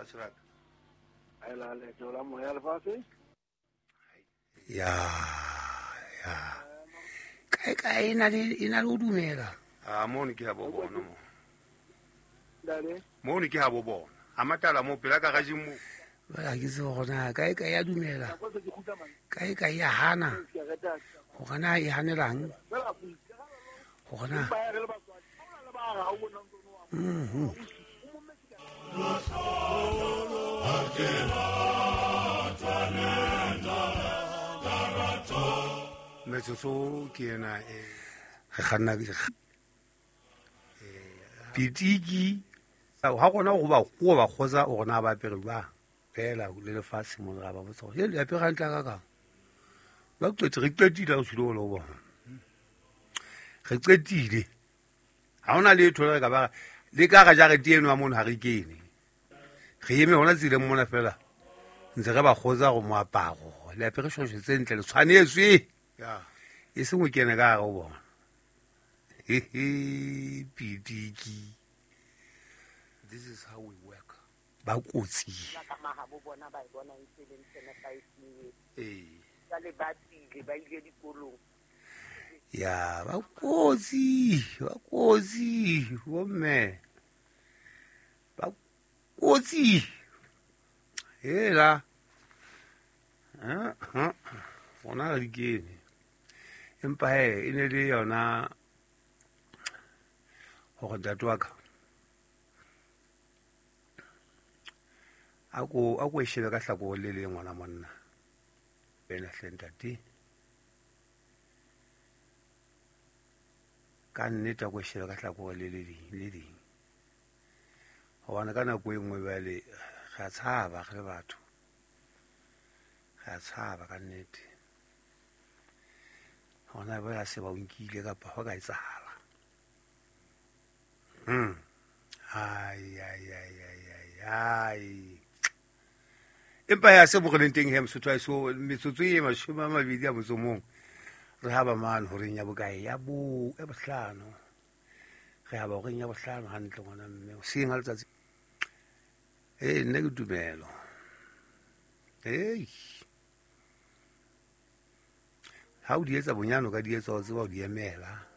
Lefatshe la ka. Ela leeto la moya lefatshe. Ya ya kae kae e na le e na le ho dumela. A mono ke ha bo bona mo. Ntate. Mono ke ha bo bona. A matala mo pela ka garageng mo. Jwale ha ke tsebe hore na kae kae ya dumela. Nako se ke kgutla mane. Kae kae ya hana. Ke reta. Hore na e hanelang. Fela Hore na. ba ya re le batswadi. Ha o na le ba ha o bona ntse o Mhm. Metsotso ke ena e Re kganna pitiki ha rona go ba go ba kgotsa o rona ba apere jwang fela le lefatshe mo ra ba botsa gore le apere hantle ka kang ba qete re qetile re tshwile go bona re qetile ha hona letho le re ka ba le ka ga jarete eno ya mono ha re kene re eme hona tseleng mona fela ntse re ba kgotsa go moaparo le apere shosho tse ntle le tshwanetswe ya e seng o kene ka gare o bona hehe pitiki this is how we work. Ba kotsi Ba ka mahabo bona ba e bona e ntse e le ntho e nepahetseng eo. Ee. Jwale ba tswile ba ile dikolong. Ya ba kotsi ba kotsi bomme ba kotsi hela rona re di kene empa he e ne le yona hore ntate wa ka a ko e shebe ka hlakoreng le leng ngwana monna wena hle ntate ka nnete a ko e shebe ka hlakoreng le le leng le leng hobane ka nako e nngwe jwale re a tshaba re le batho re a tshaba ka nnete hona ba se ba o nkile kapa ho ka etsahala ai ai ai ai ai ai empa ya se bogeleng teng he mosotho a so metsotso e 20 a motso mong re ha ba mane horeng ya bokae ya bo ya bohlano re ha ba horeng ya bohlano hantle ngwana mme hoseng ha letsatsi ee nna ke tumelo ei ha o di etsa bonyane o ka di etsa o tseba o di emela.